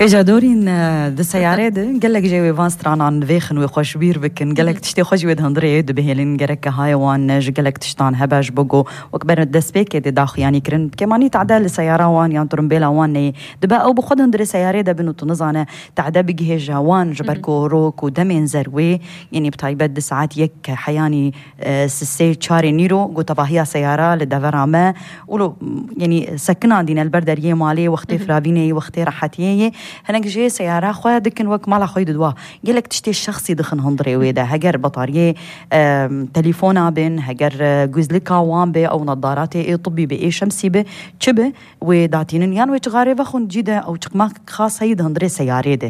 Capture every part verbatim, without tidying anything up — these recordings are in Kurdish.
Hêja dorîn, e, di seyarê de gelek jê wê van stranan vêxin, wê xweşbîr bikin. Gelek tiştê xwe jî wê di hundirê dibihêlin. Gereke hayê wan, e, ji gelek tiştan hebe, ji bo ku wek ber destpêkê dê daxuyanî kirin. Kêmanî tade li seyara wan yan tirimbêla wan neyê. Dibe ew bi xwe di hundirê seyarê de bin û tu nizane tade bigihêje wan, ji ber ku rok û demên zerwê, yanî bi taybet di saet yek heyanî, e, sisê çarê nîro, ku tevahiya seyara li devera me, û lo, yanî sekinandîne li ber deriyê malê, wextê firavînê yê, wextê rehetiyê yê, hinek jê seyara xwe dikin wek mala xwe yê didwa. Gelek tiştê şexsî dixin hundirê wê de. Heger batariyê, e, telefona bin, heger, e, guzlika wan bê, ew nadaratê ê tibbî bi, ê şemsî bi, çi bi, wê datînin yan wê çixarê vexwin cî de, ew çiqmak xas heyî di hundirê seyarê de.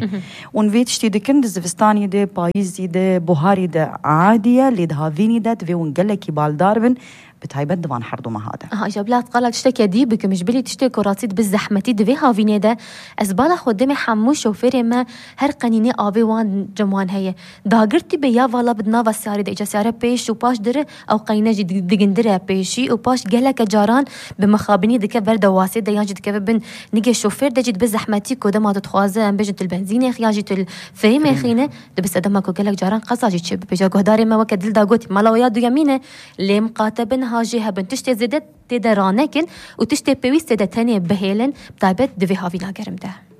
Ûn vê tiştî dikin di zivistanî de, payîzî de, buharî de adî ye, lê di havînî de divê hûn gelekî baldar bin, bi taybet di van herdu meha de. Aha, îja bila ez qala tişteke dî bikim, ji bilî tiştê ku rastî dibe zehmetî di vê havînê de, ez bala xwe demê hemû şofêrê me her qenînê avê wan cem wan heye. Dagirtî be ya vala bi di nava seyarê de, îca seyare pêş û paş dire, ew qeyne jî dig-, digindire pêşî û paş geleke caran bi mixabinî dike ber dewasê de yan jî dikeve bin nigê şofêr de jî dibe zehmetî ku dema tu dixwaze em bêjin tu li benzînê xî yan jî tu li fêmê xîne, dibe sedema ku gelek caran qeza jî çêbibe. Îja guhdarê me weke dil da gotî, mala we ya duyemîn e, lê miqate bin ha jê hebin tiştê zêde tê de ranekin û tiştê pêwîst tê de tenê bihêlin, bi taybet di vê havîna germ de.